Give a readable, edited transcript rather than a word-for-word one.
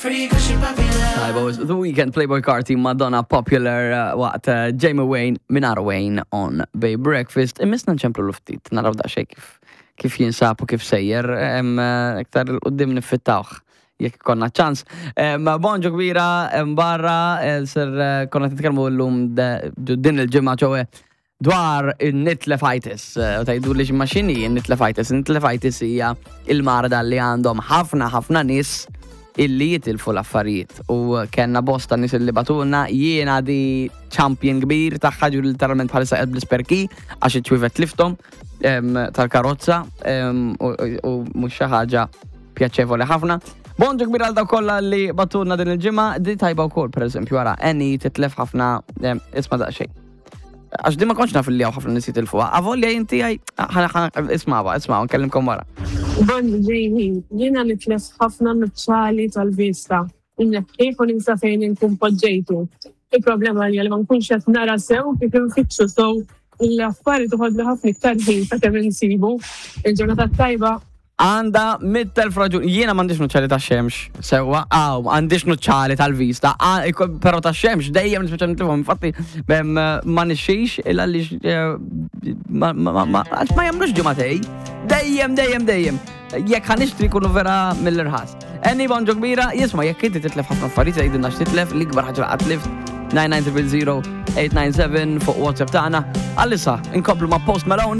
Tajba, The Weeknd, Playboi Carti, Madonna, Popular, waqt Jamie Wayne, Minar Wayne on Bay Breakfast. Immisna nċemplu l-ftit, naraw daqsxejn kif kif jinsab u kif sejjer, iktar l-qoddim nifittawh jekk konna ċans. Bonġu kbira barra, ser konna titkellmu llum din il-ġimgħa ċowe dwar in-nitlefitis. U tgħidu li x'ma x'inhi n-nitlefitis? In-nitlefitis hija il-marda li għandhom ħafna ħafna nies illi jitilfu l-affarijiet. U kellna bosta nies illi batulna, jiena di champion kbir tagħha ġu literalment bħalissa qed bl-isperki għax iċ-ċwievet tlifthom tal-karozza u mhux xi ħaġa pjaċevoli ħafna. Bonġu kbir għal dawk kollha li batulna din il-ġimgħa, di tajba wkoll pereżempju ara Annie titlef ħafna isma' daqsxejn. Għax di ma kontx naf li hawn ħafna nies jitilfuha. Avolja inti għaj, isma' isma' nkellimkom wara. Bonġu Jamie, jiena nitlef ħafna nuċċali tal-vista. Inneħħih u ninsa fejn inkun poġġejtu. Il-problema hija li ma nkunx qed nara sew kif infittxu so l-affari toħodli ħafna iktar ħin sakemm insibu. Il-ġurnata tajba. Għandha 100,000 raġun. Jiena m'għandix nuċċali tax-xemx, sewwa, aw, m'għandix nuċċali tal-vista, però tax-xemx dejjem nispiċċa nitlifhom. Infatti, ma nixxix il għaliex eh, ma jagħmlux ġimgħatej. Dejjem, dejjem, dejjem. Jekk ħa nixtri jkunu vera mill-irħas. Eni bonġu kbira, jisma' jekk inti titlef ħafna affarijiet jgħidilna x'titlef, l-ikbar ħaġa qatt tlift 990 897 fuq WhatsApp tagħna. Għalissa, inkomplu ma' Post Malone.